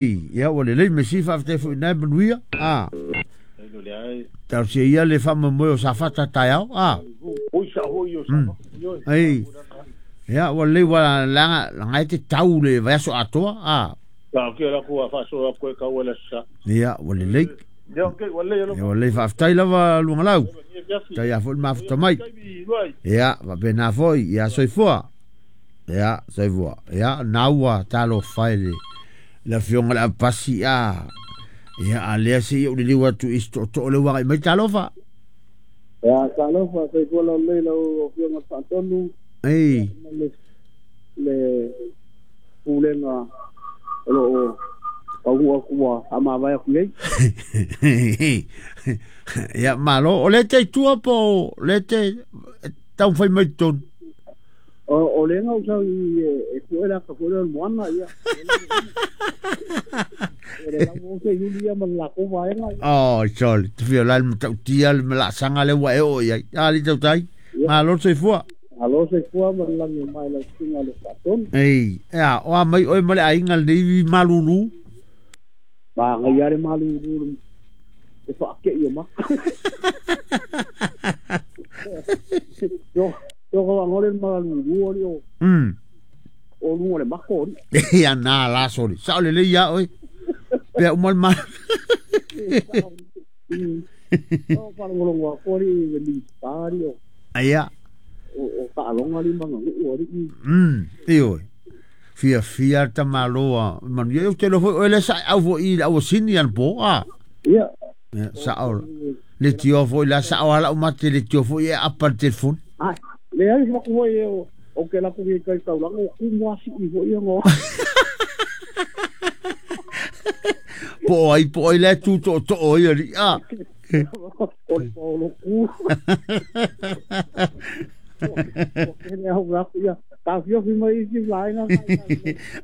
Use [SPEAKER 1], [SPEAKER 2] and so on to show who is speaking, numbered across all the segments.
[SPEAKER 1] Ia ua lelei mesi faafetai foʻi nae manuia a. Talosia ia le faamoemoe o Safata taeao a. Ai. Ia ua lelei ua leaga laga e te tau le vaiaso atoa a. Ia ua lelei. Ia ua lelei faafetai lava Luagalau. Tai a foʻi le mafuta mai. Ia faapena foi ia soifua. Ia soifua. Ia na ua talofa e le le afioga le Apasi a. Ia a lea se i ou liliu atu i se tootoo le ua agai mai talofa.
[SPEAKER 2] Ia, talofa, soifua laulelei lau Afioga i le Faatonu
[SPEAKER 1] Ei.
[SPEAKER 2] ma le pulega o lo o taunuu atu ua faamavae atu nei.
[SPEAKER 1] Ia malo, o le te i tua po o le te taumafai mai i totonu.
[SPEAKER 2] O le na usau i e pue le ata foi lea o le moana, ia. O le lau o se iuli ia ma le latou vaega.
[SPEAKER 1] Oh, sorry. Te fia la le matautia le malaasaga lea ua e oo i ai. A li tautai. Malo le soifua.
[SPEAKER 2] Malo soifua ma le lagi e mai lau susuga i le Faatonu.
[SPEAKER 1] Ei, ea, o a mai oe ma le aiga lenei malulu.
[SPEAKER 2] Manaia le malulu le faakei o maka. Yo, yo ko ngole malulu o li o. O lunga le mako o li.
[SPEAKER 1] Ia na la soli. Sao le lei ia oe. Pea uma le ma.
[SPEAKER 2] O faalogologo atu alii i le Minisita alii o
[SPEAKER 1] Aia.
[SPEAKER 2] o taaloga alii ma aganuu alii.
[SPEAKER 1] Ioe. Fiafia le tamaloa manuia. Ou te iloa foi oe lea sa e au foi i le auasini anapo a.
[SPEAKER 2] Ia.
[SPEAKER 1] Ia sao. Le tio foi la sao ala uma te le tio foi e apa le telefoni.
[SPEAKER 2] Ai, leai se maku foi e o ke lako i kai taulaga o kumu asii foi ia ngo.
[SPEAKER 1] Po ai po ai le tu to to o ia li a.
[SPEAKER 2] O le paolo ku. O ke le au aku ia. Ta fiofi mai isi vaega.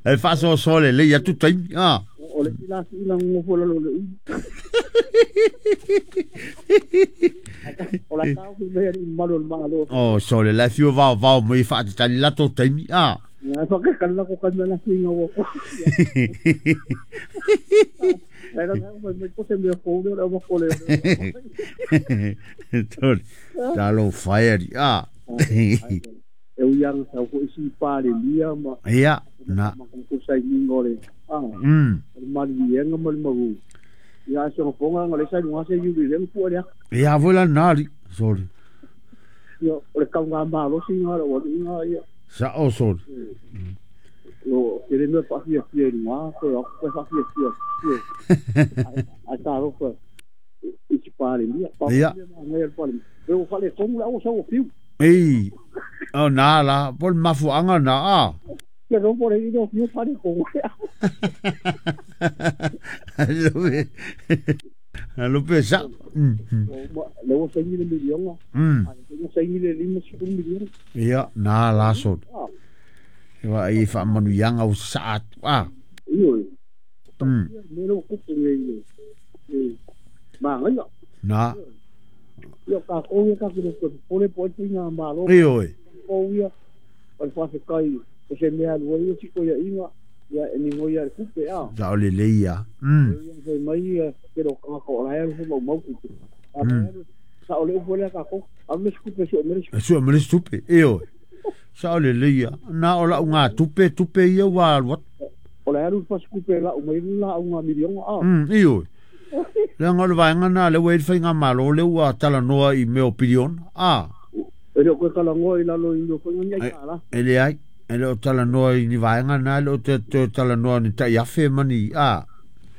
[SPEAKER 1] E faasoasoa lelei atu taimi a.
[SPEAKER 2] O le isi la sii na ngofo lalo le ulu. O la tau fi mai ali malu o le malo.
[SPEAKER 1] Oh, sole la fiu vao vao mai faatatali latou taimi a.
[SPEAKER 2] Ai fa ke kala ko kala la singa wo. Ai la mai mai ko se me ko le o ko le.
[SPEAKER 1] Tole. Talofa e ali a.
[SPEAKER 2] E ui anga sau foi si pale lia ma
[SPEAKER 1] Ia, na.
[SPEAKER 2] ma ko sai ningo le. Ah. Le mali ma le maru. Ia se fonga ngale sai lunga se yuli le pu le.
[SPEAKER 1] Ia voi la nali. Sorry.
[SPEAKER 2] Ia o le kaunga malo singa le o inga ia.
[SPEAKER 1] Sa o sorry.
[SPEAKER 2] O ke le mea faafia fia i luga ko ko faafia fia. Ai talofa i si palemia.
[SPEAKER 1] Ia.
[SPEAKER 2] Ngai le palemia. E o fale tomu la o sa o fiu.
[SPEAKER 1] Ei. O na la, po le mafuanga na a.
[SPEAKER 2] Ke ro por i no fiu fale ko.
[SPEAKER 1] Lupe. Lupe sa.
[SPEAKER 2] Le o saini le milionga. Ai o saini le 50 miliona.
[SPEAKER 1] Ia, na la sorry. Wa i faamanuiaga o sasaa atu a.
[SPEAKER 2] Io. Me lo kupu nei le. Mangaia.
[SPEAKER 1] Na.
[SPEAKER 2] Ia ka ko ia ka ko ko le po tinga malo.
[SPEAKER 1] Ioe.
[SPEAKER 2] Ko ia o le faafetai o se mea alu ai o si koia inga ia e ningo ia le kupe a.
[SPEAKER 1] Sa o lelei ia.
[SPEAKER 2] Ia fai mai ia ke ro kanga ko la alu mau mau kupe. A sa o le ufu lea ka ko. A me kupe si o me
[SPEAKER 1] Sua me le tupe. Ioe. Sa o lelei ia. Na o lau ngā tupe, tupe ia ua alu atu.
[SPEAKER 2] O le alu fasi kupe la umai la unga milionga a.
[SPEAKER 1] Ioe. Leaga o le vaega na le ua i le faigamalo le ua talanoa i mea o piliona. A.
[SPEAKER 2] E le o koe talanoa i lalo i mea faiga ni ai tāla.
[SPEAKER 1] E leai. E le o talanoa i ni vaega na, e le o te talanoa ni tai afe ma ni, a,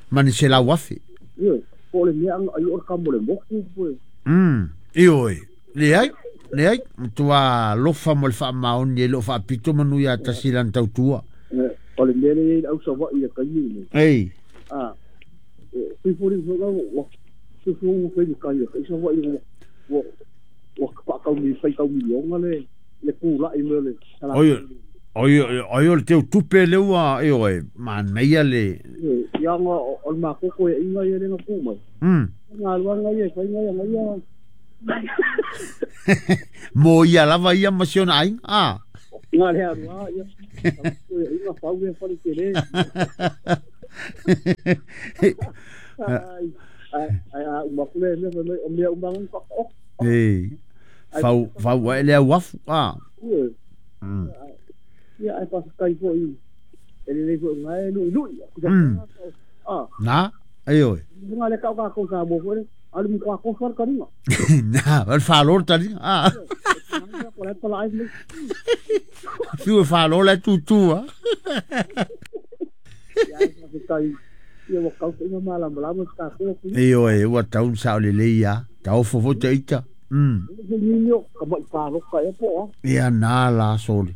[SPEAKER 1] ma ni 100,000.
[SPEAKER 2] Ioe. Po o le mea anga ai o le kamo le moku poe.
[SPEAKER 1] Ioe. Leai. Leai. Matua lofa mo le faamaoni e le o faapito manu ia tasi lana tautua.
[SPEAKER 2] O le mea le i le au Savaii le taimi lenei.
[SPEAKER 1] Ei.
[SPEAKER 2] A. Fifoli foi ua fifoli ua fai le kai kai Savaii ua ua faatau mi fai tau milionga le le pulai me le.
[SPEAKER 1] Oi oi oi o le teu tupe le ua ioe manaia le.
[SPEAKER 2] Ia nga o le makoko e inga ia le nga ku mai. Nga luanga ia fai nga ia ia.
[SPEAKER 1] Mo ia lava ia ma si ona aiga. A.
[SPEAKER 2] Nga le alua ia. Inga fau e fale tele. Ai ai ai a uma kule me me o mea uma ngai pa o.
[SPEAKER 1] E fau fau ai le uafu a.
[SPEAKER 2] Ia ai pa kai foi e le foi ngai lui lui. Ah.
[SPEAKER 1] Na, ai oi.
[SPEAKER 2] Nga le kau ka ko sa mo foi. Alu mu ko ko ka ringa.
[SPEAKER 1] Na, al falo tali. Ah.
[SPEAKER 2] Ko le pala ai me.
[SPEAKER 1] Fiu falo le tutu ah.
[SPEAKER 2] Ia ai pa kai. Ia wa kau inga mala mala mo ka ko.
[SPEAKER 1] E oi, ua tau sa le le ia. Tau fofo te ita.
[SPEAKER 2] Ka mai palo ka e po.
[SPEAKER 1] Ia na la soli.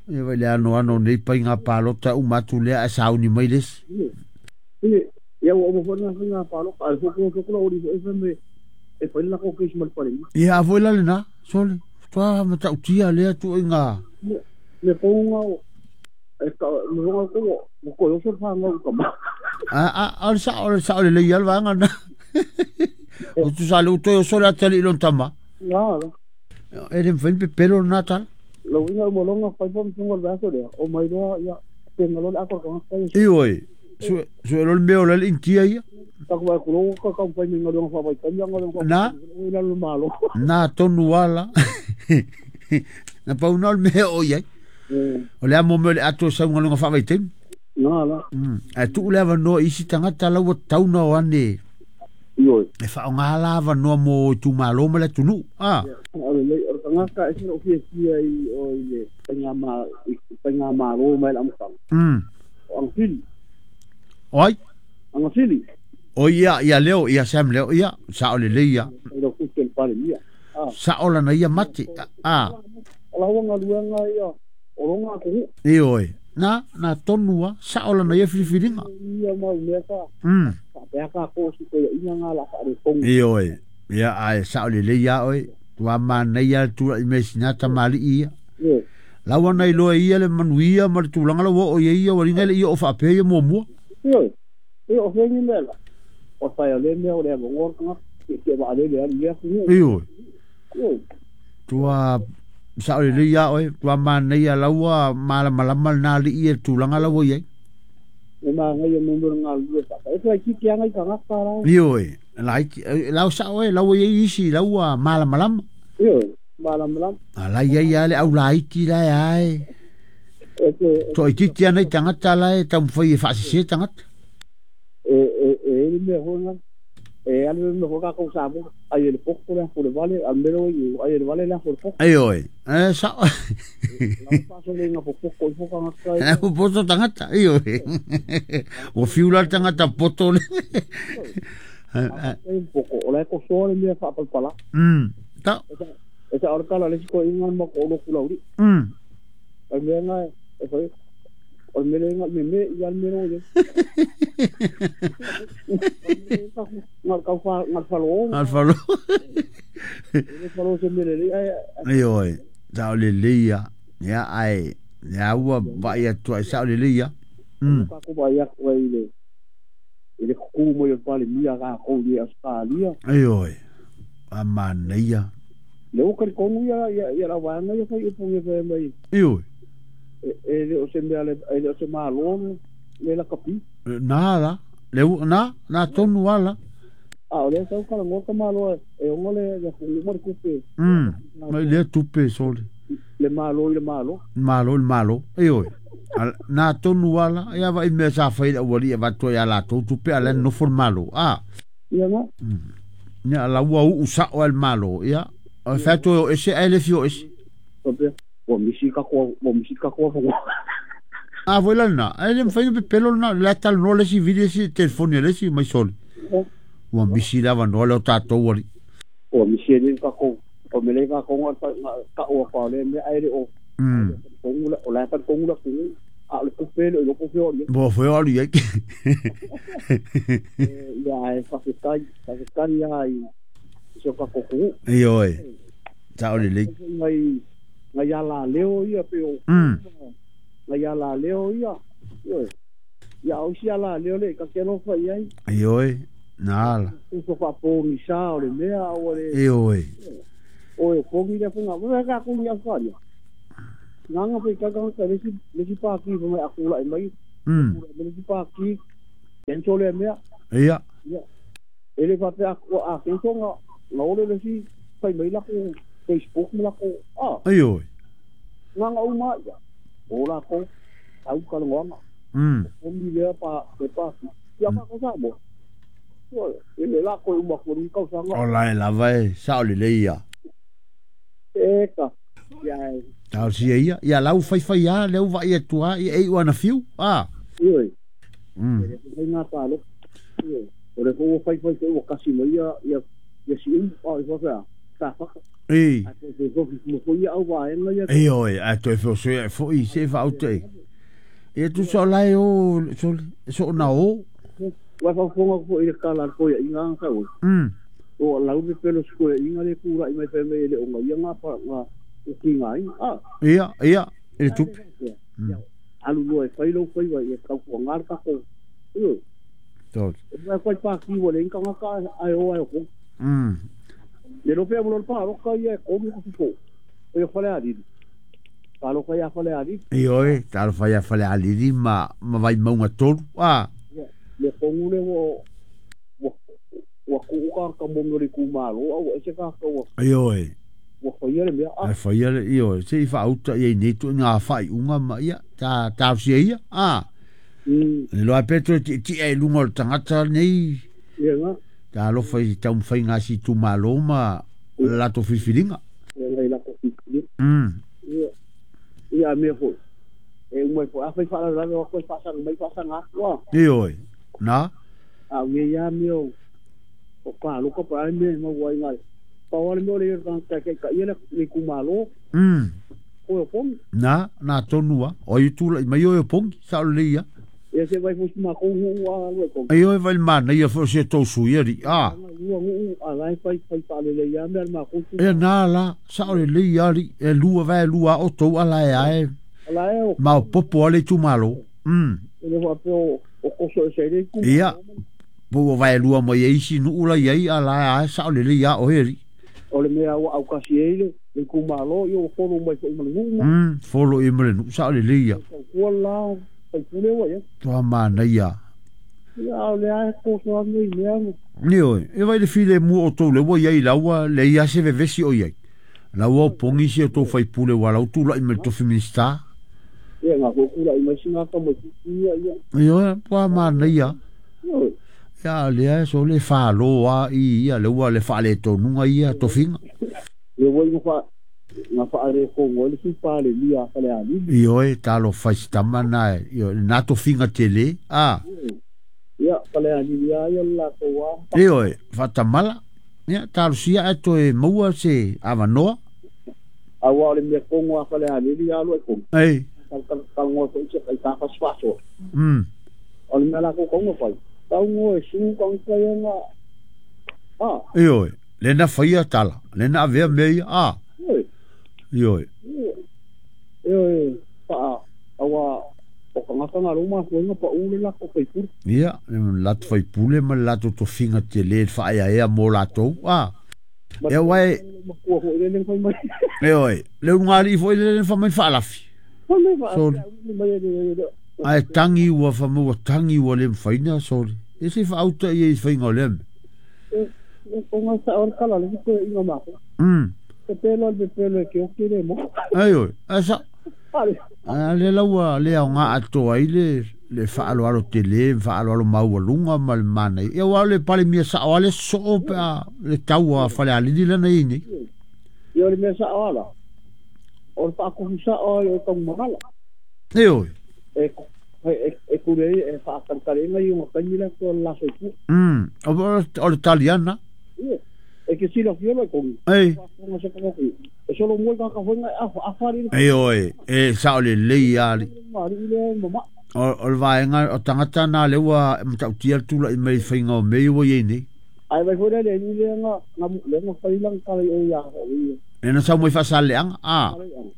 [SPEAKER 1] Ia vai le ano ano nei pai ngā palota u matu lea a sauni mai lesi.
[SPEAKER 2] Ia ua uma foi ngā palo ka fo ko ko ori fo e me e foi la ko ke mal pare.
[SPEAKER 1] Ia a foi la lena soli. Tua matautia lea tu i ngā.
[SPEAKER 2] Me ko ngā e ka me ngā ko mo ko yo so fa ngā ka ma.
[SPEAKER 1] A a sa o le ia vanga na. O tu sa le uto yo so la tali lon tama.
[SPEAKER 2] Nga.
[SPEAKER 1] E le mfai pe pelo na tal.
[SPEAKER 2] Lo inga mo longa fai pom tunga la so le o mai loa ia te ngalo le akor ka ka.
[SPEAKER 1] I oi. Su su lo meo le intia ia.
[SPEAKER 2] Ta ko ko lo ka ka fai me ngalo fa bai ka ngalo ka.
[SPEAKER 1] Na.
[SPEAKER 2] Ila lo malo.
[SPEAKER 1] Na tonu ala. Na pau na le meo ia. O le amo me le ato sa ngalo fa bai tem.
[SPEAKER 2] Na la.
[SPEAKER 1] A tu le ava no isi tangata la ua tauna o ane.
[SPEAKER 2] Oi.
[SPEAKER 1] E wha o ngā lava noa mo i tūmālo ma le tunu. Ah.
[SPEAKER 2] O le o tangata e sino fia fia i o i le painga maro mai la amutanga. O angfili.
[SPEAKER 1] Oi.
[SPEAKER 2] Angfili.
[SPEAKER 1] O ia ia leo ia Sam leo ia sa o le le ia.
[SPEAKER 2] O ku te pare ia. Ah.
[SPEAKER 1] Sa o lana ia mate. Ah.
[SPEAKER 2] O la wanga luanga ia o ronga ko.
[SPEAKER 1] E oi. Na na tonua sa o lana ia filifilinga.
[SPEAKER 2] Ia mau mea ka. Pea ka ko si ko ia ngā la fa le kongu.
[SPEAKER 1] E oi. Ia ai sa o le le ia oi. Tua mana ia tu i me sinata mali ia. Lawa nei loa ia le manuia ma le tulaga la ua o ia ia ua liga le ia o faapea ia muamua.
[SPEAKER 2] Ioe, e o fengi mea la. O whai o le mea o le avangor kanga, ke ke wa le le ia ku.
[SPEAKER 1] Ioe.
[SPEAKER 2] Ioe.
[SPEAKER 1] Tua sa o le le ia oe, tua mana ia laua malamalama na li ia tulaga la ua iai.
[SPEAKER 2] E maga ia mea ngā lua sa. E whai ki ke anga i kanga ka rau.
[SPEAKER 1] Ioe. Lau sa oe, lau ia isi, lau malamalama.
[SPEAKER 2] Ioe. Malamalama.
[SPEAKER 1] Ala ia ia le au laiti la ai. To iti ana i tangata la e taumafai e faasese tangata.
[SPEAKER 2] E le mea hoga. E ale me hoga ko sa mo. Ai le poko le ko le vale, al mero i ai le vale le ko poko.
[SPEAKER 1] Ai oi. E sa.
[SPEAKER 2] La paso le nga poko i hoga ngata.
[SPEAKER 1] E poto tangata ai oi. O fiula tangata poto le.
[SPEAKER 2] E poko o le ko so le mea fa palpala.
[SPEAKER 1] Ta.
[SPEAKER 2] E sa orkala le ko inga ma ko lo kulauri. Ai mea nga e foi o me le nga me me ia me ro ye. Ngal ka fa ngal falo.
[SPEAKER 1] Ngal falo.
[SPEAKER 2] Le falo se me le ai.
[SPEAKER 1] Ai oi. Sa le le ia. Ia ai. Ia ua ba ia tu sa le le ia.
[SPEAKER 2] Ka ko ba ia ko i le. I le ku mo yo pale mia ka ko i Australia.
[SPEAKER 1] Ai oi. A manaia.
[SPEAKER 2] Le o ka kongu ia ia la wanga ia foi upunge foi mai.
[SPEAKER 1] Io.
[SPEAKER 2] E le o se mea le o se malo le la kapi.
[SPEAKER 1] Na la le na na tonu ala.
[SPEAKER 2] A o le sau kala ngoka malo e ongo le le ku mo kupe.
[SPEAKER 1] Mai le tupe sole.
[SPEAKER 2] Le malo le malo.
[SPEAKER 1] Malo le malo. Io. Na tonu ala ia vai me sa fai la wali va to ia la to tupe ala no for malo. Ah.
[SPEAKER 2] Ia na.
[SPEAKER 1] Nya la ua u sa o el malo ia. O fato ese ele fio ese.
[SPEAKER 2] O misika ko o misika ko fo.
[SPEAKER 1] Ah voila na, ele me fai pelo na la tal no le si video si telefone le si mai sol. O misi la no le ta to wali.
[SPEAKER 2] O misi le ka ko o me le ka ko ka o pa le me aire o. Ko o la ta ko la ku a le ko pelo lo ko fio.
[SPEAKER 1] Bo fo ali.
[SPEAKER 2] Ya e fa kai ya i so ka ko ku.
[SPEAKER 1] Io e. Ta o le le.
[SPEAKER 2] Ngai ngai ala leo ia pe o. Ngai ala leo ia. Io. Ia o si ala leo le ka ke lo fa ia.
[SPEAKER 1] Io e. Na ala.
[SPEAKER 2] O fa po ni sa o le mea o le.
[SPEAKER 1] Io e.
[SPEAKER 2] O e po ni le funga. Wa ka ku ni fa ia. Nganga pe ka ka le si pa ki mai akula mai. Me le pāki, kenso le mea.
[SPEAKER 1] Ia.
[SPEAKER 2] Ia. E le faapea a kenso nga ole le si fai mai lako Facebook ma lako a.
[SPEAKER 1] Ioe.
[SPEAKER 2] Nga uma ia. O lako au ka longa. O mi lea pa le pāki. Ia ka ko sa mo. E le lako uma ko ni kau sanga.
[SPEAKER 1] O la e lava e sao le leia.
[SPEAKER 2] E ka. Ia.
[SPEAKER 1] Tau sia ia, ia lau fai fai ia, leu vai e tua, ia ei wana fiu, a.
[SPEAKER 2] Ioe. E le ngā pālo. Ioe. O le fō fai fai fai kasi mai ia, ia, ia si umu, a i whawhea, tā whaka.
[SPEAKER 1] Ei.
[SPEAKER 2] A te te fofi mo fo ia au vaenga ia.
[SPEAKER 1] Ei oi, a toe fo so fo i se fa aute. Ia tu so lai o so so na o.
[SPEAKER 2] Wa fa fonga fo i le kala ko ia inga ka o. O lau me pelo sko ia inga le kura i mai fe me le onga ia ngā pa ngā o ki ngā inga. Ah.
[SPEAKER 1] Ia, ia, e tupe.
[SPEAKER 2] Alu loa e whai lau whai wai e kau kua ngā kako. Io.
[SPEAKER 1] Tol.
[SPEAKER 2] E mai koe pā ki wale inga ngā ka ai o ai o kong. Le lope a molo pā roka ia e komu ka fifo. O ia whale alili. Tā loka ia whale alili.
[SPEAKER 1] Ioe, tā loka ia whale alili ma vai maunga tolu. Ah.
[SPEAKER 2] Le kongu le wo wa kuuka ka mongo le kumalo au e se ka ka wa.
[SPEAKER 1] Ioe.
[SPEAKER 2] Wa whaia le mea.
[SPEAKER 1] Ai whaia le ioe. Se i whaauta ia i netu ngā whai unga ma ia. Tā tausia ia. Ah. Le loa petro ti ti e lunga o le tangata nei.
[SPEAKER 2] Ia ngā.
[SPEAKER 1] Tā alofa i taumawhai ngā si tūmalo ma lato whiwhiringa.
[SPEAKER 2] Ia ngai lato whiwhiringa. Ia. Ia mea foi. E umai foi. A whai whaararare o koe whaasanga mai whaasanga atua.
[SPEAKER 1] Ioe. Nā?
[SPEAKER 2] A mea ia mea o o kā loka pa ai mea mau ai ngai. Pau ale mea o le ia ka ka ia le kumalo. O pongi.
[SPEAKER 1] Nā, nā tonua. O i tūla i mai o pongi. Sa o le ia.
[SPEAKER 2] Ia se vai fosi ma kou hu a lue kong.
[SPEAKER 1] Ai oi vai mana ia fosi e tau sui ari. Ah.
[SPEAKER 2] Ua ngu a lai fai fai pa le ia mea ma kou.
[SPEAKER 1] E nā la, sa o le le ia ari. E lua vai lua o tau ala e ae.
[SPEAKER 2] Ala e o.
[SPEAKER 1] Ma o popo ale tu malo.
[SPEAKER 2] E le wapeo o koso e se le ku.
[SPEAKER 1] Ia. Po vai lua mai e isi nu ula ia ala ae sa o le le ia o heri.
[SPEAKER 2] O le mea ua au kasi e le le kumalo ia o folo mai fo i malungu.
[SPEAKER 1] Folo i malungu sa o le le ia.
[SPEAKER 2] Kua la pai pule wa ia.
[SPEAKER 1] Toa mana ia.
[SPEAKER 2] Ia o le ae koso a mei mea.
[SPEAKER 1] Nio, e vai le file mua o tau le wa ia i laua le ia se vevesi o ia. Laua o pongi si o tau whai pule wa lau tūla i me tofi minista.
[SPEAKER 2] Ia ngā kōkura i mai singa ka mai ia ia.
[SPEAKER 1] Ia, toa mana ia. Ia le so le whaloa i ia le ua le whaale tonunga ia tofinga.
[SPEAKER 2] Le wai ngā whaare kongo le si pāle lia whale alili.
[SPEAKER 1] Ioe, talo whaistama nā, ioe, nā tofinga tele, a.
[SPEAKER 2] Ia, whale alili a ia la toa.
[SPEAKER 1] Ioe, whatamala, ia, talo sia e toe maua se awanoa.
[SPEAKER 2] Awa o le mea kongo a whale alili a lua e kongo.
[SPEAKER 1] Ei.
[SPEAKER 2] Kal ngoa ko ise kai tāwhas whaso. O le mea la ko kongo whai. Tau ngoa e sū kang kai ngā. Ah.
[SPEAKER 1] Ioe, le na whaia tala, le na avea mea ia, a.
[SPEAKER 2] Ioe.
[SPEAKER 1] Ioe.
[SPEAKER 2] Ioe, paa, awa, o ka ngata ngā roma fuenga pa ule la ko whaipule.
[SPEAKER 1] Ia, lato whaipule ma lato tofinga te le whaea ea mō latou, a. Ia wae.
[SPEAKER 2] Makua fo ile whai mai.
[SPEAKER 1] Ioe, le ungari fo ile whai mai whaalafi. Sorry. Ai tangi ua whamua tangi ua le mwhaina, sorry. E se whaauta ia i whainga o leme.
[SPEAKER 2] E o ngā sa ora kala le koe inga mako. Te pelo le pelo e ke o kere mo.
[SPEAKER 1] Ai oi, ai sa. A le laua le au ngā atoa i le whaaloalo te le, whaaloalo maua lunga ma le mana. Ia wao le pale mea sa o ale so pea le taua whale alili lana i nei.
[SPEAKER 2] Ia le mea sa o ala. O le whaakohu sa o ai o tau mangala.
[SPEAKER 1] E oi.
[SPEAKER 2] E kure e whaakankare ngai o ngā kaimila ko la soipu.
[SPEAKER 1] O le taliana.
[SPEAKER 2] E ke sila fiolo e kongi.
[SPEAKER 1] Ei.
[SPEAKER 2] E solo mua ka whenga a whare.
[SPEAKER 1] E oi, e sa o le lei ali. O le vaenga o tangata nā le ua matautia tula i mai whainga o mei ua iei nei.
[SPEAKER 2] Ai vai fore le ni le nga le nga whailang kare e ia.
[SPEAKER 1] E na sau mai whasaleanga, a.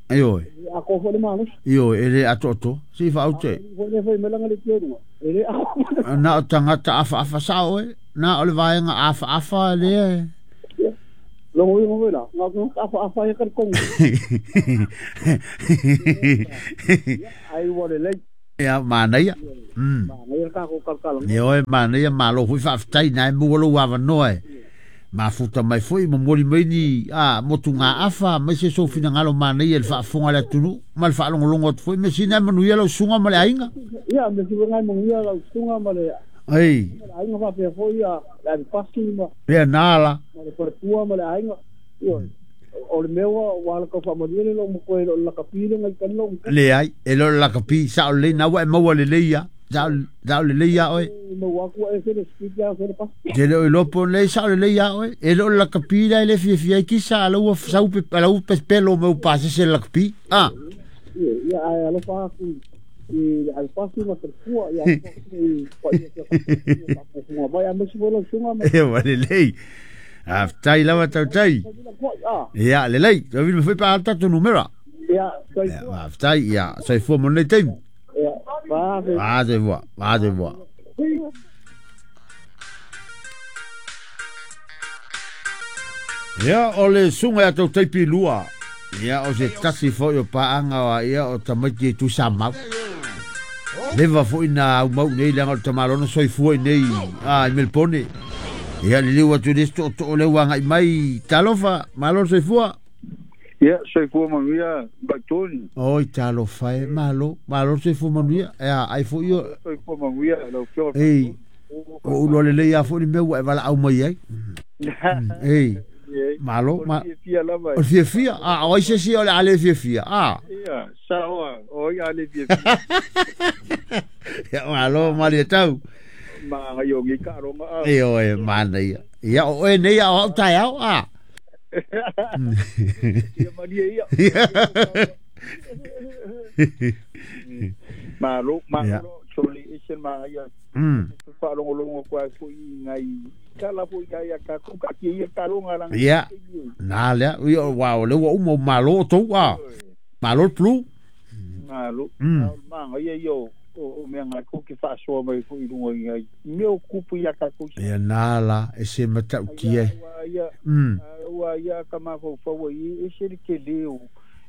[SPEAKER 1] E oi.
[SPEAKER 2] A ko fore manos.
[SPEAKER 1] I oi, e le ato ato. Si whaute.
[SPEAKER 2] Fore fai melanga le tienga. E le a.
[SPEAKER 1] Nā o tangata afa afa sa oe. Nā o le vaenga afa afa le e.
[SPEAKER 2] Longo ingo vela, ngā afa afa e kari kongo. Ai ua le lei.
[SPEAKER 1] Ia manaia.
[SPEAKER 2] Manaia ka ko kalkala.
[SPEAKER 1] Ia oe manaia malo foi faafetai na e maua lou avanoa e mafuta mai foi momoli mai ni a motu ngā afa mai se sou finagalo manaia i le faafofoga a le atunuu ma le faalogologo atu foi me sina e manuia lau susuga ma le aiga.
[SPEAKER 2] Ia me sina e manuia lau susuga ma le
[SPEAKER 1] ai
[SPEAKER 2] aiga faapea foi ia le avepasi ma
[SPEAKER 1] ia na la
[SPEAKER 2] ma le faletua ma le aiga. Ioe o le mea ua ala kau faamanuia le lou matua e le o le lakapi le ngai tani lou matua.
[SPEAKER 1] Leai e le o le lakapi sao lelei na ua e maua lelei ia. Sao lelei ia oe.
[SPEAKER 2] Maua atu ua ese le speed ia se le pasi.
[SPEAKER 1] Te le o iloa po nei sao lelei ia oe. E le o le lakapi la e le fiafia ai kisa a lau sau pe a lau pelo meu pasese le lakapi. Ah.
[SPEAKER 2] Ia ai alofa atu i le avepasi ma faletua ia alofa atu i paia sia mai a mesi foi lau susuga ma.
[SPEAKER 1] E wa lelei. Faafetai lava tautai. Ia lelei, toe vili mai foi pe a alu tatou numera.
[SPEAKER 2] Ia, soifua.
[SPEAKER 1] Faafetai, ia, soifua mo lenei taimi.
[SPEAKER 2] Ia, vave.
[SPEAKER 1] Va soifua, va soifua. Ia, o le susuga ia Tautai Pilua. Ia, o se tasi foi o paaga o ia o tamaiti e Tuisamau. Leva foi na aumau nei leaga o le tamaloa na soifua i nei a i Melpone. Ia liliu atu i le isi tootoo lea ua agai mai. Talofa, malo le soifua.
[SPEAKER 3] Ia, soifua manuia Vaitoni.
[SPEAKER 1] Oi, talofa e, malo, malo le soifua manuia. Ia, ai foi o...
[SPEAKER 3] Soifua manuia lau Afioga.
[SPEAKER 1] Ei, o ulo lelei a foi le mea ua e valaau mai ai. Ei, malo,
[SPEAKER 3] ma... O le fiafia lava.
[SPEAKER 1] O le fiafia, a o ai se isi o le a le fiafia, a.
[SPEAKER 3] Ia, sao a, o ai a le fiafia.
[SPEAKER 1] Ia, malo, malie tau.
[SPEAKER 3] Ma ngai o ngi ka ronga a.
[SPEAKER 1] E oe, manaia. Ia, o oe nei a o au taeao, a.
[SPEAKER 3] Ia malie ia. Malo, malo, soli ese ma ia. Whaalongolongo kua foi ngai kala foi ngai a ka ku ka ki ia ka ronga ranga.
[SPEAKER 1] Ia. Na lea, ia wa o le ua uma malo tou a. Malo le plu.
[SPEAKER 3] Malo. Ma ngai ia o o mea ngai ko ki whaasoa mai foi i runga i ngai. Mea o kupu ia ka ku.
[SPEAKER 1] Ia nā la, e se matautia.
[SPEAKER 3] Ua ia ka mafaufau i e se le ke leo.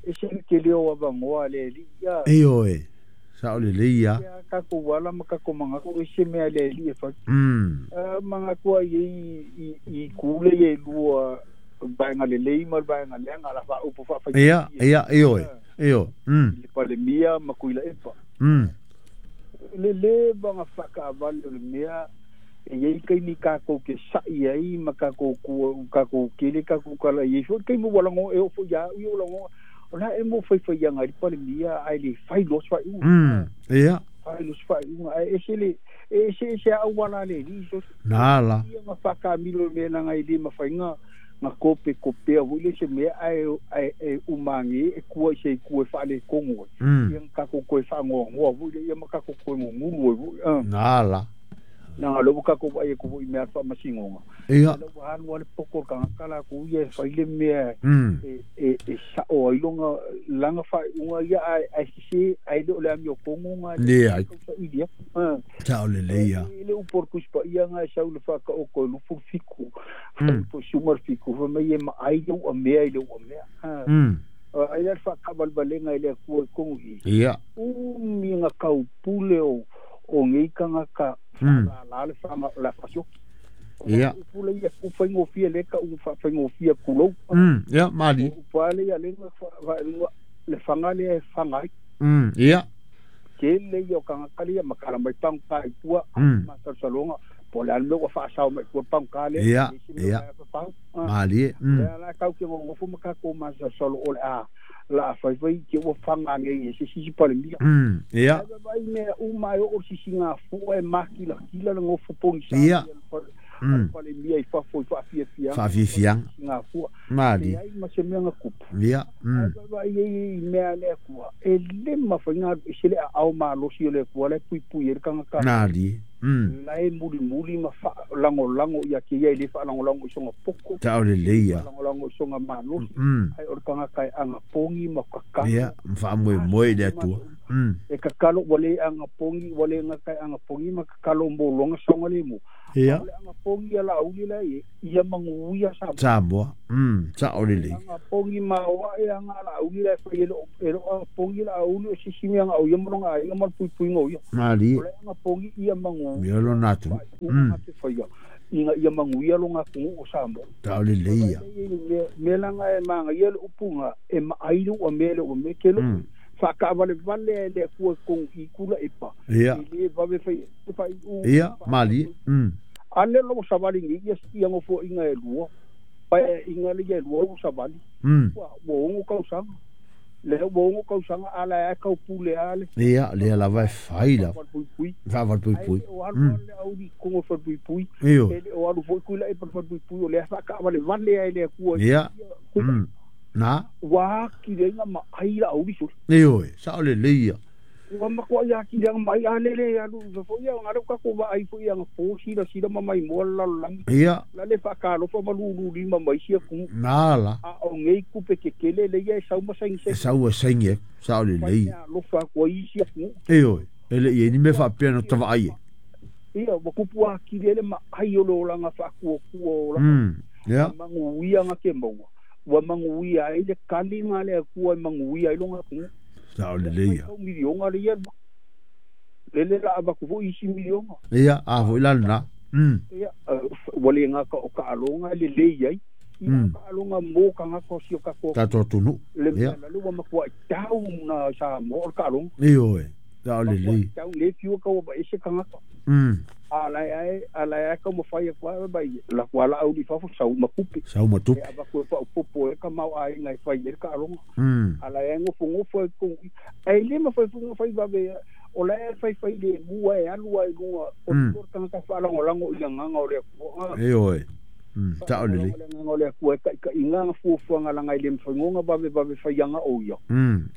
[SPEAKER 3] E se le ke leo avangoa le li ia.
[SPEAKER 1] E oe. Sao lelei ia.
[SPEAKER 3] Ia ka ko wala ma ka ko manga ko e se mea le li e fa. Manga kua i i kule i lua vaenga lelei ma le vaenga leaga la faaupu faafai.
[SPEAKER 1] Ia, ia, e oe. E oe.
[SPEAKER 3] I le Palemia ma Kuilaepa. Le le vanga whakaavale o le mea e iai kaimi kākou ke sa'i ai ma kākou kua kākou kele kākou kala i ai foi kaimi ua lago e oo foi ia au ia ua lago o la e mo faifaiaga i le Palemia ae le fai loa se faaiuga.
[SPEAKER 1] Ia.
[SPEAKER 3] Fai loa se faaiuga ae ese le e ese ese a au ala le alii so.
[SPEAKER 1] Nā la.
[SPEAKER 3] Ia nga whakamilo le mea nanga i le mawhainga nga kope kopea foi le se mea ae ae e umange e kua i se i kua e whaale kongo e. Ia nga kako koe whaangoangoa foi le ia ma kako koe ngunguru e foi.
[SPEAKER 1] Nā la.
[SPEAKER 3] Nanga lo kako vai e ko foi mea whaamasingonga.
[SPEAKER 1] Ia.
[SPEAKER 3] Le ua hanu ale poko ka ngaka la ku ia e whai le mea e e sa o ai longa langa whai unga ia ai ai sise ai le o le ami o kongo nga
[SPEAKER 1] Le ai.
[SPEAKER 3] Sa ilia.
[SPEAKER 1] Sao lelei ia.
[SPEAKER 3] Le u por kuspa ia nga e sau le whaka o koe lufu fiku. Po sumar fiku. Fa mai e ma ai le ua mea i le ua mea. Ai le whakavalvalenga i le akua i kongo i.
[SPEAKER 1] Ia.
[SPEAKER 3] U mi nga kau pule o o ngei kanga ka la la le whanga la whasioki.
[SPEAKER 1] Ia.
[SPEAKER 3] Pule ia ku whaingofia le ka u whaingofia kulou.
[SPEAKER 1] Ia, mali.
[SPEAKER 3] U pale ia le le whanga le e whanga ai.
[SPEAKER 1] Ia.
[SPEAKER 3] Ke le ia o kanga kali ia makala mai pangu ka i pua. Ma salsalonga. Po le anme ua whaasao mai pua pangu ka le.
[SPEAKER 1] Ia, ia. Mali.
[SPEAKER 3] Le ala kau ke ngongofu makako ma salsalo o le a. La whai whai ke ua whanga ngei e se sisi pale mia.
[SPEAKER 1] Ia.
[SPEAKER 3] Ai vai mea u mai o sisi ngā fua e maki la kila le ngofu pongi sa.
[SPEAKER 1] Ia.
[SPEAKER 3] Pale mia i whafo i whaafiafianga.
[SPEAKER 1] Whaafiafianga.
[SPEAKER 3] Ngā fua.
[SPEAKER 1] Mali.
[SPEAKER 3] E ai ma se mea ngā kupu.
[SPEAKER 1] Ia.
[SPEAKER 3] Ai vai e i mea le akua. E le mawhainga e se le a au malosi o le akua le pui pui e le kanga ka.
[SPEAKER 1] Nā li.
[SPEAKER 3] La e muli muli ma fa lango lango ia ke ia le fa lango lango i songa poko.
[SPEAKER 1] Tao le leia.
[SPEAKER 3] Lango lango i songa malosi. Ai o le tagata e agapogi ma kakalo.
[SPEAKER 1] Ia, ma faamoemoe i le Atua.
[SPEAKER 3] E kakalo ua lē agapogi ua lē gata e agapogi ma kakalo mo loga saogalemu.
[SPEAKER 1] Ia.
[SPEAKER 3] O le agapogi a laauli lae ia maguia Samoa.
[SPEAKER 1] Samoa. Sao lelei.
[SPEAKER 3] Agapogi ma oaʻe aga laauli lae fai e loo agapogi laauli o sisi mea ga o ia ma loga aiga ma le puipuiga o ia.
[SPEAKER 1] Malie.
[SPEAKER 3] O le agapogi ia magu.
[SPEAKER 1] Ia lona atunuu.
[SPEAKER 3] Te faia ina ia maguia loga atunuu o Samoa.
[SPEAKER 1] Tao lelei ia.
[SPEAKER 3] Mea laga e magaia le upuga e maai le ua mea le ua mea ke loo faakaavalevale ai le Atua i tonu i kula epa.
[SPEAKER 1] Ia.
[SPEAKER 3] E lē vave fai fai u.
[SPEAKER 1] Ia, malie.
[SPEAKER 3] Ale lo savali ni ia ia ngofoaiga e lua. Pae inga le ia lua ua savali. Ua ua 6 tausaga. Le ua 6 tausaga ala e kau pule ale.
[SPEAKER 1] Ia, lea lava e fai la.
[SPEAKER 3] Pui.
[SPEAKER 1] Faavalpuipui.
[SPEAKER 3] O alu le auli kongo falepuipui.
[SPEAKER 1] Io.
[SPEAKER 3] E le o alu foi kuila e falepuipui o le faakaavalevale ai le Atua.
[SPEAKER 1] Ia. Na.
[SPEAKER 3] Ua akilega ma ai la auli suli.
[SPEAKER 1] Ioe, sao lelei ia.
[SPEAKER 3] Ua matua ia akilega ma ai ale le alu foi ia ngalo ka ko va ai foi ia po sila sila ma mai mo la langi.
[SPEAKER 1] Ia.
[SPEAKER 3] La le faakalofa ma lulu lima mai sia ku.
[SPEAKER 1] Na la.
[SPEAKER 3] A o ngei kupe ke kele le ia e sau ma saini
[SPEAKER 1] E sau e saini e, sao lelei ia.
[SPEAKER 3] Alofa ko i sia ku.
[SPEAKER 1] Ioe, e le i ni me faapea no tavaai e.
[SPEAKER 3] Ia ua kupu akili ele ma ai o le olaga faakuakua o olaga.
[SPEAKER 1] Ia.
[SPEAKER 3] Maguia ga ke maua. Ua maguia ai le kaliga le Atua e maguia ai loga atunuu.
[SPEAKER 1] Sao lelei ia.
[SPEAKER 3] Miliona le ia lele la avaku foi isi miliona.
[SPEAKER 1] Ia, a foi la lena.
[SPEAKER 3] Ia, ua le gata o taaloga e lelei ai. Ia taaloga mo tagata o si o tatou.
[SPEAKER 1] Tatou atunuu.
[SPEAKER 3] Le mea la le ua matuai tau na Samoa o le taaloga.
[SPEAKER 1] Ioe, sao lelei.
[SPEAKER 3] Tau le fiu kau ma ese tagata. A la e a la e kau mafai atu ai mai la kua la au fafo sau ma tupe.
[SPEAKER 1] Sau ma tupe.
[SPEAKER 3] E avaku e faaopopo e ka mau aiga e fai ai le taaloga. A la e gofogofo e kou. Ai le ma fai funga fai vave o la e fai fai le mua e alu ai luga o le tagata faalagolago i le agaga o le Atua.
[SPEAKER 1] Ioe. Sao lelei.
[SPEAKER 3] Le agaga o le Atua e taitaiga fuafuaga laga i le mafainoga vave vave faiaga o ia.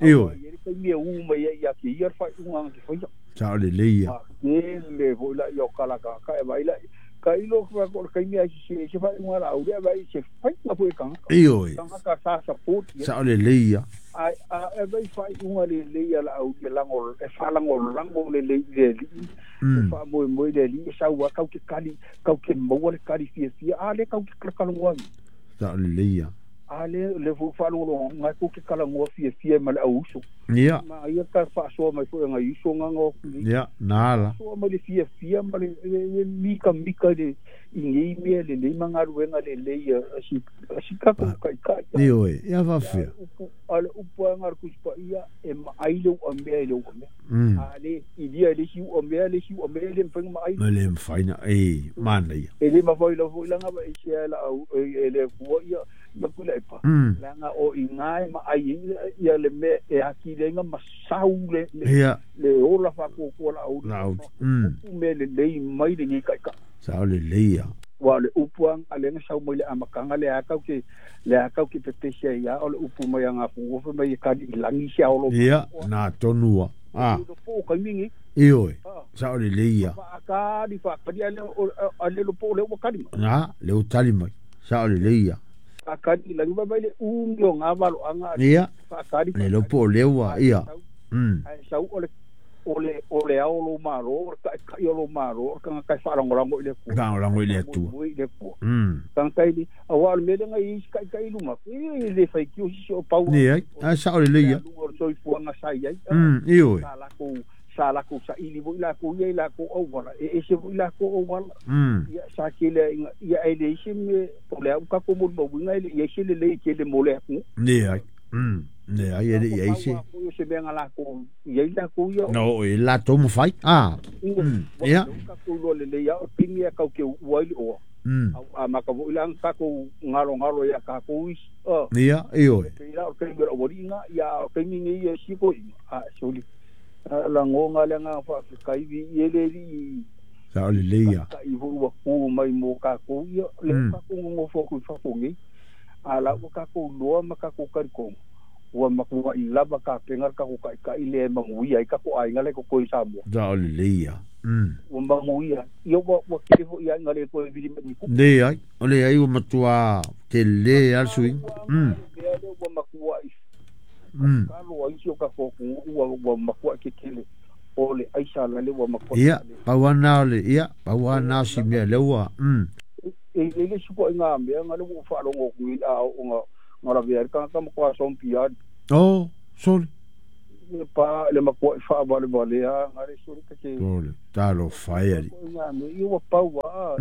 [SPEAKER 1] Ioe.
[SPEAKER 3] Ia le taimi e u mai ai ia te ia le faaiuga te faia.
[SPEAKER 1] Sao lelei ia.
[SPEAKER 3] Tele foi la ia o kalakaka e vai la ka ilo ka ko le kaimi ai se se faaiuga la au le vai se faiga foi tagata.
[SPEAKER 1] Ioe.
[SPEAKER 3] Tagata sa support ia.
[SPEAKER 1] Sao lelei ia.
[SPEAKER 3] Ai a e vai faaiuga lelei ia la au le lango e faalagolago lelei i le Alii. E faamoemoe le Alii e sau a kau ke kali kau ke maua le kali fiafia a le kau ke kalakalagoa.
[SPEAKER 1] Sao lelei ia.
[SPEAKER 3] A le le fu faalogologo ko ke kalagoa fiafia ma le au uso.
[SPEAKER 1] Ia.
[SPEAKER 3] Ma ia ka faasoa mai foi ngai uso nganga o.
[SPEAKER 1] Ia, na la.
[SPEAKER 3] Soa mai le fiafia ma le mika mika le i nei mea lelei ma galuega lelei a si a si tatou taitai.
[SPEAKER 1] Ioe, ia faafefea.
[SPEAKER 3] A le upu aga le Tusi Paia e maai le uamea i le uamea. A le ilia e le isi uamea le isi uamea e le mafai ona maai.
[SPEAKER 1] Ma le mafai na e manaia.
[SPEAKER 3] E le mafai lava foi laga ma ese ai la au e le Atua ia ia Tuilaepa. Leaga o i ina e maai ai ia le mea e atili ai ma sau le
[SPEAKER 1] Ia.
[SPEAKER 3] le ola faakuakua laauli.
[SPEAKER 1] Laauli.
[SPEAKER 3] Upu mea lelei mai lenei taitai.
[SPEAKER 1] Sao lelei ia.
[SPEAKER 3] Ua o le upu aga lea na sau mai le amataga lea kau ke lea kau ke pepesi ai ia o le upu mai aga fai mai e kali i lagi se aolo.
[SPEAKER 1] Ia, na tonua. Ah.
[SPEAKER 3] Po o kaimi nei.
[SPEAKER 1] Ioe. Sao lelei ia.
[SPEAKER 3] Faakali faakali ale ale lo po le ua kali mai.
[SPEAKER 1] Na, le u tali mai. Sao lelei ia.
[SPEAKER 3] Faakali i lagi vai le umi o ngā valoaga.
[SPEAKER 1] Ia.
[SPEAKER 3] Faakali.
[SPEAKER 1] Le lo po le ua ia.
[SPEAKER 3] Ai sau o le o le o le ao lo malo, o le taitai o lo malo, o le tagata e faalagolago i le Atua.
[SPEAKER 1] Faalagolago i le Atua.
[SPEAKER 3] I le Atua. Tagata i aua o le mea lea na i ai isi taitai i luma, e le faitio sisi o pau.
[SPEAKER 1] Leai, a sao lelei ia.
[SPEAKER 3] O le soifuaga sa i ai.
[SPEAKER 1] Ioe.
[SPEAKER 3] Sa lakou saili foi lakou ia i lakou auala, e ese foi lakou auala. Ia sa tele ia e leai se mea, o le a ua tatou molimauina e le i ai se lelei tele mo le atunuu.
[SPEAKER 1] Leai. Leai e le i ai se.
[SPEAKER 3] O se mea na lakou i ai lakou ia.
[SPEAKER 1] Na oo i latou mafai. Ah. Ia.
[SPEAKER 3] Tatou iloa lelei lava o le taimi e kau ke uua ai le oa. A maka foi la tatou galogalo ia tatou isi.
[SPEAKER 1] Ia, ioe.
[SPEAKER 3] Pei la o le taimi o le aualiiga, ia o le taimi nei e isi toeaiina. A soli. Lagoga le agaga faafetai viia ai le Alii.
[SPEAKER 1] Sao lelei ia.
[SPEAKER 3] Taitai foi ua tu mai mo tatou ia lea tatou nonofo atu i fafo nei. A la ua tatou iloa ma tatou talitonu. Ua matua i lava ka penga ka ko kai kai le manguia i ka ko ai ngale ko koi Samoa.
[SPEAKER 1] Da o le leia.
[SPEAKER 3] Ua manguia. Ia ua kele fo ia ngale ko e vili mai ku.
[SPEAKER 1] Le ai, o le ai ua matua te le al sui.
[SPEAKER 3] Mea le ua matua i. Ka lo ai sio ka ko ua matua ke kele. O le aisa la le ua matua.
[SPEAKER 1] Ia, pawana o le ia, pawana si mea le ua.
[SPEAKER 3] E le suko i ngā mea ngale ua whaalongo kui a o ngā ngā ka ka makua sompia.
[SPEAKER 1] Oh, sorry.
[SPEAKER 3] Pa le makua wha vale vale a ngare sorry ka ke.
[SPEAKER 1] Sorry, talo fire.
[SPEAKER 3] Ngā mea i ua paua.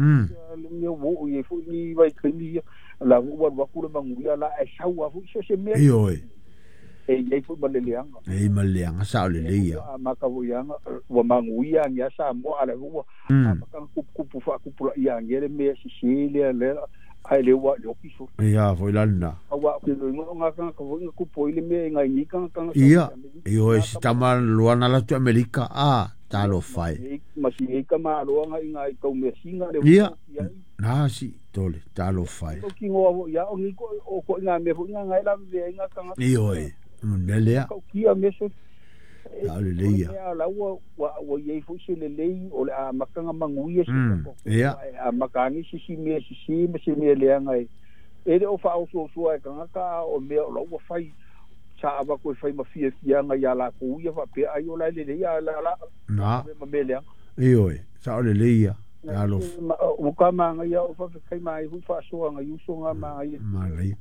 [SPEAKER 3] Le mea wo i fu ni vai kini la ua wakule manguia la e saua fu se mea.
[SPEAKER 1] Ioe.
[SPEAKER 3] E iai fu maleleanga.
[SPEAKER 1] E maleleanga sa o le leia.
[SPEAKER 3] A makavuianga ua manguia ngia sa mo ala ua. A makanga kupu fa kupu la ia ngia le mea sisi le le ai le ua le okiso.
[SPEAKER 1] Ia foi lana.
[SPEAKER 3] Awa ke lo nga ka ka foi kupu ile mea ngai ni ka ka.
[SPEAKER 1] Ia, ioe si tama luana la tu Amerika a talo fai.
[SPEAKER 3] Ma si e ka ma lo nga ngai kau mea singa le.
[SPEAKER 1] Ia. Na si tole talo fai.
[SPEAKER 3] O ki ngoa ia o ni ko o ko nga mea foi nga ngai la ve nga ka.
[SPEAKER 1] Ioe. Melea.
[SPEAKER 3] Kia meso.
[SPEAKER 1] La le leia.
[SPEAKER 3] La ua ua iai foi se le lei o le a makanga manguia se ko.
[SPEAKER 1] Ia.
[SPEAKER 3] A makangi si si me si si me si me le anga e. E le o fa o so so e kanga ka o me o la ua fai sa ava ko fai ma fia fia nga ia la ko ia fa pe ai o la le leia la la.
[SPEAKER 1] Na.
[SPEAKER 3] Ma me le.
[SPEAKER 1] Ioe, sa o le leia. Alo.
[SPEAKER 3] O ka manga ia o fa kai mai fu fa so nga yuso nga ma ia.
[SPEAKER 1] Ma lei.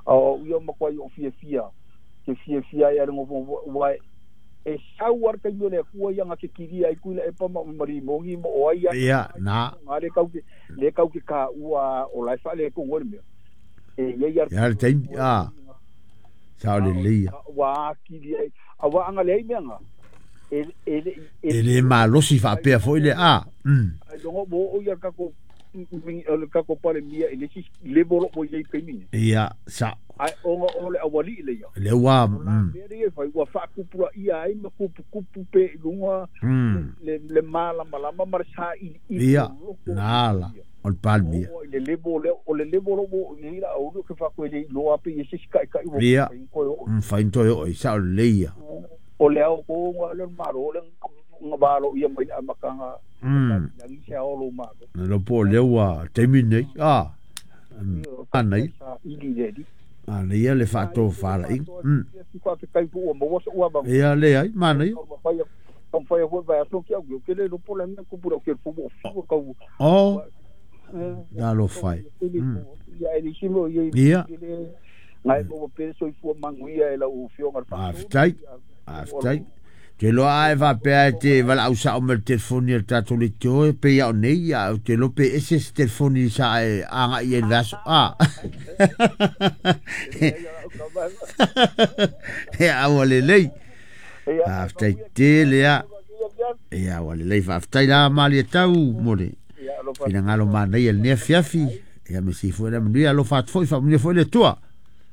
[SPEAKER 3] O ia ma ko o fia fia. Ke fia fia ia ngo wa e sau ar ka le ku ia nga ke kiri ai ku le e pa ma mari mongi mo o ai
[SPEAKER 1] ia na
[SPEAKER 3] nga le kau ke ka ua o la fa le ko ngol me e ia
[SPEAKER 1] ia le taimi a sa le leia
[SPEAKER 3] wa kiri ai a wa anga le me nga e
[SPEAKER 1] e le malosi fa pe fo ile a
[SPEAKER 3] ai lo mo o ia ka ko ka ko pale mia e le si le bolo mo ia pe mi
[SPEAKER 1] ia sa
[SPEAKER 3] ai o o le awali le ia
[SPEAKER 1] le wa
[SPEAKER 3] le fai ua fa kupura ia ai ma kupu kupu pe lunga le mala mala ma sa i
[SPEAKER 1] ia nala o palmia
[SPEAKER 3] o le lebo le o le lebo lo mo ni la o ke fa ko le lo ape ye se kai kai
[SPEAKER 1] o ia fai to o sa le ia
[SPEAKER 3] o le o ko le maro le ngabalo ia mai amakanga ngi se o lo maro
[SPEAKER 1] lo po le wa temine a anai ana ia le whaato whaala i. Ia le ai, mana ia. O, da lo whai. Ia. Aftai, aftai. Te loa ai whapea e te wala au sa o me le telefoni e tātou le te oe, pe ia o nei, ia o te lope ese se telefoni sa e anga i e vaso. A. Ia aua le lei. Aftai te lea. Ia aua le lei. Aftai la mali e tau, more. Fina ngalo mana ia le nea fiafi. Ia me si fue la manuia alo faatu foi, whamunia foi le tua.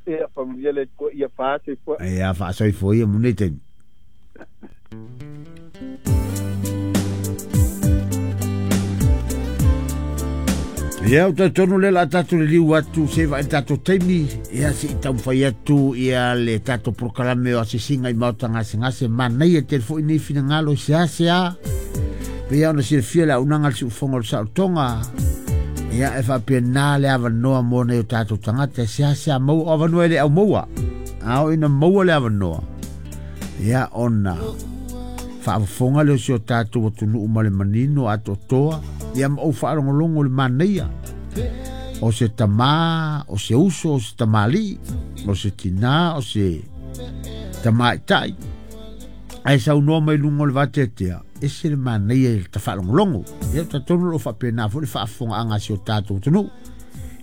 [SPEAKER 3] Ia whamunia le tua, ia whaasoi foi.
[SPEAKER 1] Ia whaasoi foi, ia mune tenu. Ia o tonu le la tātou le liu atu se vai tātou taimi ia si i taumawhai atu ia le tātou prokalame o asisinga i maota ngase manai e te foi nei finangalo se a se a pe ia ona silafia le aunaga le siufoga o le saolotoga ia e faapena le avanoa mo nei o tātou tagata e se a se a maua o avanoa e le aumaua a o ina maua le avanoa ia ona faafofoga le o si o tātou atunuu ma le manino atoatoa ia ma ou faalogologo le manaia o se tamā o se uso o se tamalii o se tinā o se tamaitai ae saunoa mai luga o le vateatea ese le manaia i le tafaalogologo ia tatonu loo faapena foi le faafofogaaga a si o tātou atunuu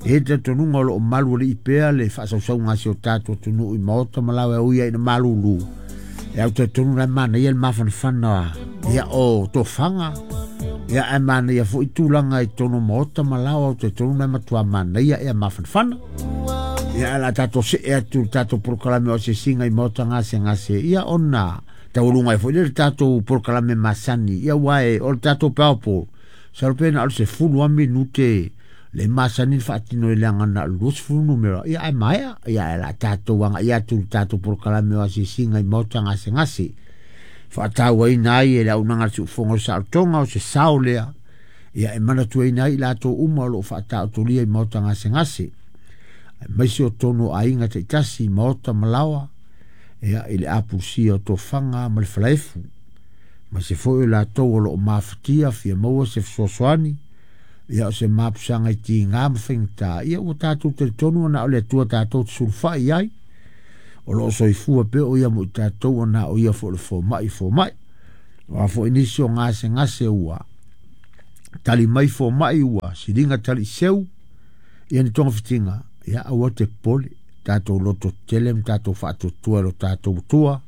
[SPEAKER 1] e tatonuga o loo malu alii pea le faasausauga a si o tātou atunuu i maota ma laoe auia ina malūlū e au tatonu la manaia le mafanafana ia o tofaga ia e manaia foi tulaga i tonu maota ma lao au tatonu la matua manaia ia mafanafana ia la tatou see atu tatou polokalame o sesiga i maota gasegase ia ona tauluga ai foi le tatou polokalame masani ia uae o le tatou paopo salopena o le 10 minute Le masani le faatino i le aga na o le 20 numera, ia ae maea, ia ae o le a tatou aga'i atu i le tatou polokalame o asiasiga i maota gasegase. Faatauaina ai e le auaunaga a le Siufofoga o le Saolotoga o se sao lea, ia e manatuaina ai i latou uma o lo o faataotolia i maota gasegase, aemaise o totonu o aiga taitasi i maota ma laoa, ia i le apulusia o tofaga ma le falaefu, aemaise foi o latou o lo o mafatia fia maua se fesoasoani, ia o se mapusaga i tiga ma faigata, ia ua tatou talitonu ona o le Atua tatou te sulufai i ai, o lo o soifua pea o ia mo i tatou ona o ia foi o le fomai fomai. O a foi nisi o gasegase ua tali mai fomai ua siliga tali seu, ia ni togafitiga, ia aua te popole, tatou loto tetele ma tatou faatuatua i lo tatou Atua,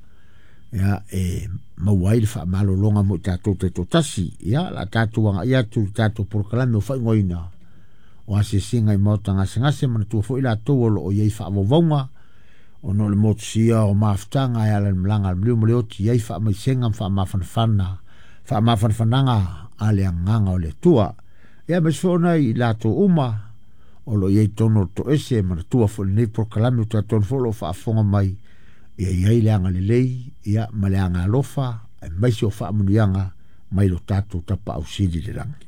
[SPEAKER 1] ia e maua ai le faamalologa mo i tatou taitoatasi. Ia, o le a tatou agai atu i le tatou polokalame o faaigoaina o asiasiga i maota gasegase, manatua foi latou o lo o i ai faavauvauga ona o le motusia o mafutaga e ala i le malaga a le maliu ma le oti, i ai faamaisega ma faamafanafana, faamafanafanaga a le agaga o le Atua. Ia, aemaise foi ona i latou uma o lo o i ai i totonu o le toese, manatua foi lenei polokalame o tatou foi o lo o faafofoga mai, ia i ai le agalelei, ia, ma le agaalofa, aemaise o faamanuiaga mai lo tatou Tapaau Sili i le lagi.